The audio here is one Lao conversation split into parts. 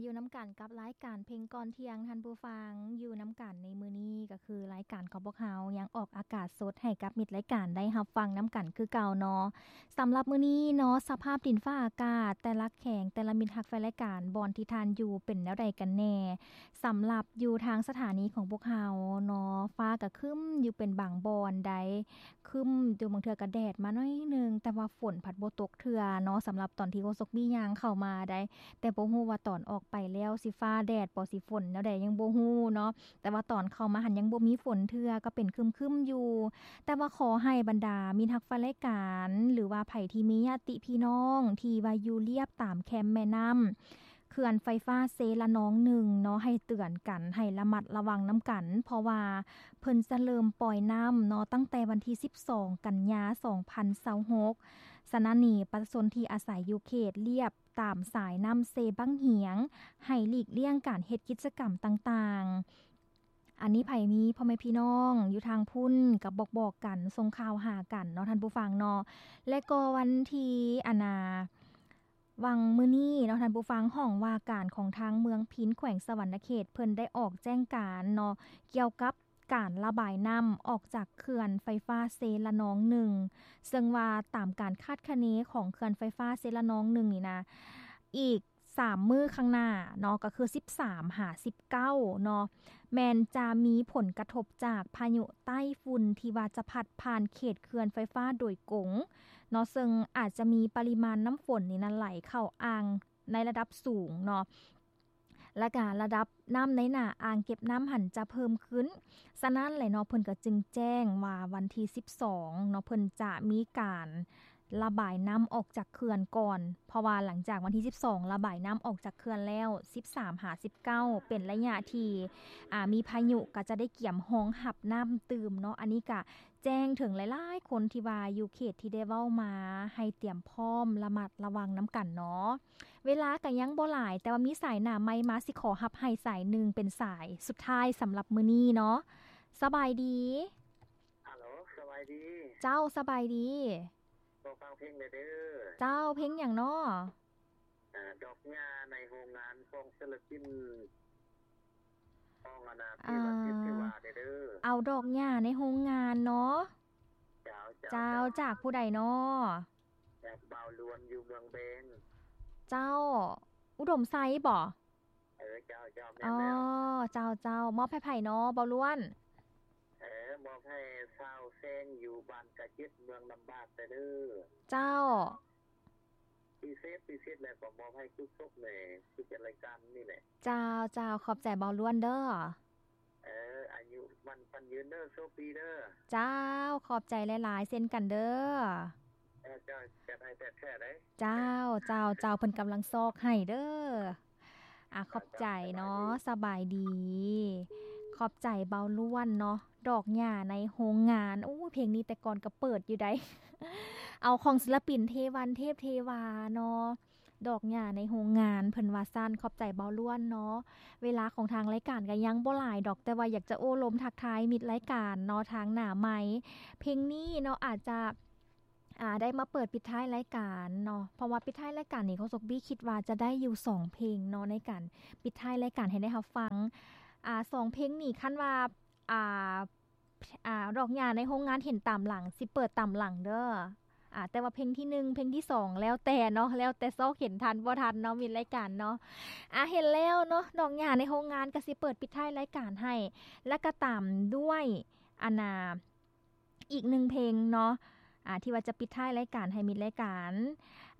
ຢູ່ນຳກັນກັບລາຍການເພງກ່ອນທ່ຽງ ທ່ານຜູ້ຟັງ. ຢູ່ນຳກັນໃນມື້ນີ້ກໍຄືລາຍການຂອງພວກເຮົາຍັງອອກອາກາດສົດໃຫ້ກັບມິດລາຍການໄດ້ຮັບຟັງນຳກັນຄືເກົ່າເນາະ. ສຳລັບມື້ນີ້ເນາະ ສະພາບດິນຟ້າອາກາດແຕ່ລະແຂວງ ແຕ່ລະມິດຮັກແຟນລາຍການ ບ່ອນທີ່ທ່ານຢູ່ເປັນແນວໃດກັນແດ່? ສຳລັບຢູ່ທາງສະຖານີຂອງພວກເຮົາເນາະ ຟ້າກໍຄຶ້ມຢູ່ເປັນບາງບ່ອນໃດ໋ ຄຶ້ມຢູ່ ບາງເທື່ອກໍແດດມາໜ້ອຍໜຶ່ງ ແຕ່ວ່າຝົນພັດບໍ່ຕົກເທື່ອເນາະ. ສຳລັບຕອນທີ່ໂຄສົກບີຍ່າງເຂົ້າມາໃດ໋ ແຕ່ບໍ່ຮູ້ວ່າຕອນອອກໄປແລ້ວຊິຟ້າແດດບໍ່ ຊິຝົນແນວໃດ ຍັງບໍ່ຮູ້ເນາະ. ແຕ່ວ່າຕອນເຂົ້າມາຫັ້ນຍັງບໍ່ມີຝົນເທື່ອ ກໍເປັນຄຶ້ມໆຢູ່. ແຕ່ວ່າຂໍໃຫ້ບັນດາມິດຮັກແຟນລາຍການ ຫຼືວ່າໃຜທີ່ມີຍາດຕິພີ່ນ້ອງທີ່ວ່າຢູ່ລຽບຕາມແຄມແມ່ນ້ຳ ເຂື່ອນໄຟຟ້າເຊລະນອງໜຶ່ງເນາະ ໃຫ້ເຕືອນກັນ ໃຫ້ລະມັດລະວັງນຳກັນ ເພາະວ່າເພິ່ນຈະເລີ່ມປ່ອຍນ້ຳເນາະ ຕັ້ງແຕ່ວັນທີສິບສອງ ກັນຍາ ສອງພັນຊາວຫົກ. ສະນັ້ນນີ້ ປະຊາຊົນທີ່ອາໄສຢູ່ເຂດລຽບຕາມສາຍນ້ຳເຊບັ້ງຫຽງ ໃຫ້ຫຼີກລ່ຽງການເຮັດກິດຈະກຳຕ່າງໆ. ອັນນີ້ໃຜມີພໍ່ແມ່ພີ່ນ້ອງຢູ່ທາງພຸ້ນ ກໍບອກໆກັນ ສົ່ງຂ່າວຫາກັນເນາະ ທ່ານຜູ້ຟັງເນາະ. ແລະກໍວັນທີ ອັນນາ ຫວ່າງມື້ນີ້ເນາະ ທ່ານຜູ້ຟັງ, ຫ້ອງວ່າການຂອງທາງເມືອງພິນ ແຂວງສະຫວັນນະເຂດ ເພິ່ນໄດ້ອອກແຈ້ງການເນາະ ກ່ຽວກັບການລະບາຍນ້ຳອອກຈາກເຂື່ອນໄຟຟ້າເຊລະນອງໜຶ່ງ ເຊິ່ງວ່າຕາມການຄາດຄະເນຂອງເຂື່ອນໄຟຟ້າເຊລະນອງໜຶ່ງນີ້ນະ ອີກສາມມື້ຂ້າງໜ້າເນາະ ກໍຄືສິບສາມຫາສິບເກົ້າເນາະ ແມ່ນຈະມີຜົນກະທົບຈາກພາຍຸໃຕ້ຝຸ່ນທີ່ວ່າຈະພັດຜ່ານເຂດເຂື່ອນໄຟຟ້າໂດຍກົງເນາະ ເຊິ່ງອາດຈະມີປະລິມານນ້ຳຝົນນີ້ນະໄຫຼເຂົ້າອ່າງໃນລະດັບສູງເນາະ ແລະກະລະດັບນ້ຳໃນໜ້າອ່າງເກັບນ້ຳຫັ້ນຈະເພີ່ມຂຶ້ນ. ສະນັ້ນແຫຼະເນາະ ເພິ່ນກໍຈຶ່ງແຈ້ງວ່າວັນທີສິບສອງເນາະ ເພິ່ນຈະມີການ ລະບາຍນ້ຳອອກຈາກເຂື່ອນກ່ອນ ເພາະວ່າຫຼັງຈາກວັນທີສິບສອງ ລະບາຍນ້ຳອອກຈາກເຂື່ອນແລ້ວ ສິບສາມຫາສິບເກົ້າ ເປັນໄລຍະທີ່ ອາ ມີພາຍຸ ກໍຈະໄດ້ກຽມຮອງຮັບນ້ຳຕື່ມເນາະ. ອັນນີ້ກະແຈ້ງເຖິງຫຼາຍໆຄົນທີ່ວ່າຢູ່ເຂດທີ່ໄດ້ເວົ້າມາ ໃຫ້ຕຽມພ້ອມລະມັດລະວັງນຳກັນເນາະ. ເວລາກະຍັງບໍ່ຫຼາຍ ແຕ່ວ່າມີສາຍໜ້າໃໝ່ມາ ຊິຂໍຮັບໃຫ້ສາຍໜຶ່ງເປັນສາຍສຸດທ້າຍສຳລັບມື້ນີ້ເນາະ. ສະບາຍດີ. ຮັລໂຫຼ ສະບາຍດີ. ເຈົ້າ ສະບາຍດີ. ຂໍຟັງເພງແດ່ເດີ້. ເຈົ້າ ເພງຫຍັງເນາະ? ອາ ດອກຫຍ້າໃນໂຮງງານຂອງສິລະປິນ ຂອງອັນນາ ເທວັນທິດເທວາແດ່ເດີ້. ເອົາດອກຫຍ້າໃນໂຮງງານເນາະ. ເຈົ້າ ເຈົ້າ ເຈົ້າ ຈາກຜູ້ໃດເນາະ? ຈາກບ່າວລ້ວນຢູ່ເມືອງແບງ. ເຈົ້າ ອຸດົມໄຊບໍ? ເອີ ເຈົ້າ ເຈົ້າ ແມ່ນແລ້ວ. ອໍ ເຈົ້າ ເຈົ້າ ມອບໃຫ້ໃຜເນາະ ບ່າວລ້ວນ? ເອີ ມອບໃຫ້ຊາວແຊງຢູ່ບ້ານກະເຈັດ ເມືອງນ້ຳບາກແດ່ເດີ້. ເຈົ້າ ພິເສດ ພິເສດແລ້ວກໍມອບໃຫ້ກຸສົກແດ່ ຜູ້ຈັດລາຍການນີ້ແຫຼະ. ເຈົ້າ ເຈົ້າ ຂອບໃຈບ່າວລ້ວນເດີ້. ເອີ ອາຍຸໝັ້ນຂວັນຍືນເດີ້ ໂຊກດີເດີ້. ເຈົ້າ ຂອບໃຈຫຼາຍໆ ເຊັ່ນກັນເດີ້. ເຈົ້າ ຈັດໃຫ້ແທ້ໆເດ້. ເຈົ້າ ເຈົ້າ ເຈົ້າ ເພິ່ນກຳລັງຊອກໃຫ້ເດີ້. ອາ ຂອບໃຈເນາະ. ສະບາຍດີ. ຂອບໃຈບ່າວລ້ວນເນາະ ດອກຫຍ້າໃນໂຮງງານ. ໂອ້ ເພງນີ້ແຕ່ກ່ອນກໍເປີດຢູ່ໃດ໋ ເອົາຂອງສິລະປິນເທວັນເທບເທວາເນາະ ດອກຫຍ້າໃນໂຮງງານ ເພິ່ນວ່າຊັ້ນ. ຂອບໃຈບ່າວລ້ວນເນາະ. ເວລາຂອງທາງລາຍການກໍຍັງບໍ່ຫຼາຍດອກ ແຕ່ວ່າຢາກຈະໂອ້ລົມທັກທາຍມິດລາຍການເນາະ ທາງໜ້າໄມ. ເພງນີ້ເນາະ ອາດຈະ ອາ ໄດ້ມາເປີດປິດທ້າຍລາຍການເນາະ ເພາະວ່າປິດທ້າຍລາຍການນີ້ ໂຄສົກບີຄິດວ່າຈະໄດ້ຢູ່ສອງເພງເນາະ ໃນການປິດທ້າຍລາຍການໃຫ້ໄດ້ຮັບຟັງ. ອາ ສອງເພງນີ້ ຄັນວ່າ ອາ ອາ ດອກຫຍ້າໃນໂຮງງານເຫັນຕາມຫຼັງ ຊິເປີດຕາມຫຼັງເດີ້. ອາ ແຕ່ວ່າເພງທີໜຶ່ງ ເພງທີສອງ ແລ້ວແຕ່ເນາະ ແລ້ວແຕ່ຊອກເຫັນທັນບໍ່ທັນເນາະ ມິດລາຍການເນາະ. ອາ ເຫັນແລ້ວເນາະ ດອກຫຍ້າໃນໂຮງງານ ກໍຊິເປີດປິດທ້າຍລາຍການໃຫ້ ແລ້ວກໍຕາມດ້ວຍ ອັນນາ ອີກໜຶ່ງເພງເນາະ ອາ ທີ່ວ່າຈະປິດທ້າຍລາຍການໃຫ້ມິດລາຍການ.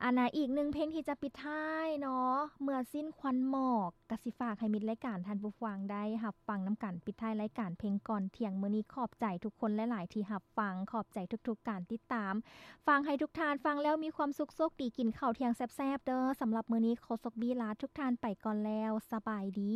ອັນນາ ອີກໜຶ່ງເພງທີ່ຈະປິດທ້າຍເນາະ ເມື່ອສິ້ນຄວັນໝອກ ກະຊິຝາກໃຫ້ມິດລາຍການທ່ານຜູ້ຟັງໄດ້ຮັບຟັງນຳກັນ ປິດທ້າຍລາຍການເພງກ່ອນທ່ຽງມື້ນີ້. ຂອບໃຈທຸກຄົນຫຼາຍໆທີ່ຮັບຟັງ ຂອບໃຈທຸກໆການຕິດຕາມ. ຝາກໃຫ້ທຸກທ່ານຟັງແລ້ວມີຄວາມສຸກ ໂຊກດີ ກິນເຂົ້າທ່ຽງແຊບໆເດີ້. ສຳລັບມື້ນີ້ ໂຄສົກບີລາທຸກທ່ານໄປກ່ອນແລ້ວ. ສະບາຍດີ.